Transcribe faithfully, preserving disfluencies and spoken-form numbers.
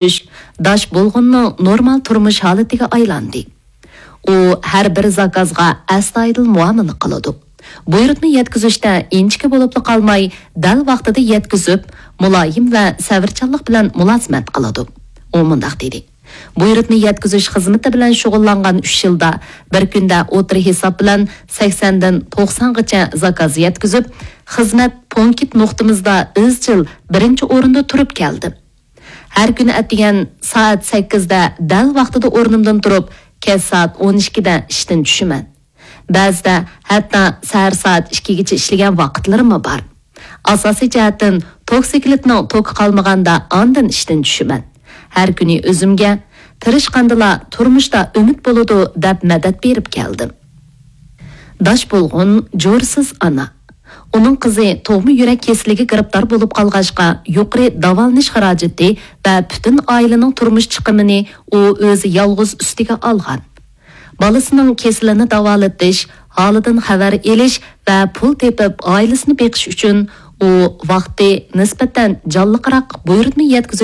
داش بولغۇننىڭ نورمال تۇرمۇش ھالىتىگە ئايلاندى. ئۇ ھەر بىر زاكازغا ئەستايىدىل مۇئامىلە قىلىدۇ. بۇيرۇتما يەتكۈزۈشتە ئىنچىكە بولۇپلا قالماي، دەل ۋاقتىدا يەتكۈزۈپ، مۇلايىم ۋە سەۋرچانلىق بىلەن مۇلازىمەت قىلىدۇ. ئۇ مۇنداق دېدى: بۇيرۇتما يەتكۈزۈش خىزمىتى بىلەن شۇغۇللانغان ئۈچ يىلدا بىر كۈندە ئوتتۇرا ھېساب بىلەن سەكسەندىن توقسانغىچە زاكاز يەتكۈزۈپ، خىزمەت پونكىت نۇقتىمىزدا ئىزچىل بىرىنچى ئورۇندا تۇرۇپ كەلدى. ھەر كۈنى ئەتىگەن سائەت سەككىزدە دەل ۋاقتىدا ئورنۇمدىن تۇرۇپ، كەچ سائەت ئون ئىككىدە ئىشتىن چۈشىمەن. بەزىدە ھەتتا سەھەر سائەت ئىككىگىچە ئىشلىگەن ۋاقىتلىرىممۇ بار. ئاساسىي جەھەتتىن توكسىكلىتنىڭ توكى قالمىغاندا ئاندىن ئىشتىن چۈشىمەن. ھەر كۈنى ئۆزۈمگە، تىرىشقاندىلا تۇرمۇشتا ئۈمىد بولىدۇ، دەپ مەدەت بېرىپ كەلدىم. داش بولغۇن جورىسىز ئانا. ئۇنىڭ قىزى تۇغما يۈرەك كېسىلىگە گىرىپتار بولۇپ قالغاچقا، يۇقىرى داۋالىنىش خىراجىتى ۋە پۈتۈن ئائىلىنىڭ تۇرمۇش چىقىمىنى ئۇ ئۆزى يالغۇز ئۈستىگە ئالغان. بالىسىنىڭ كېسىلىنى داۋالىتىش، ھالىدىن خەۋەر ئېلىش ۋە پۇل تېپىپ، ئائىلىسىنى بېقىش ئۈچۈن ئۇ ۋاقتى نىسبەتەن جانلىقراق بۇيرۇتما يەتكۈزۈش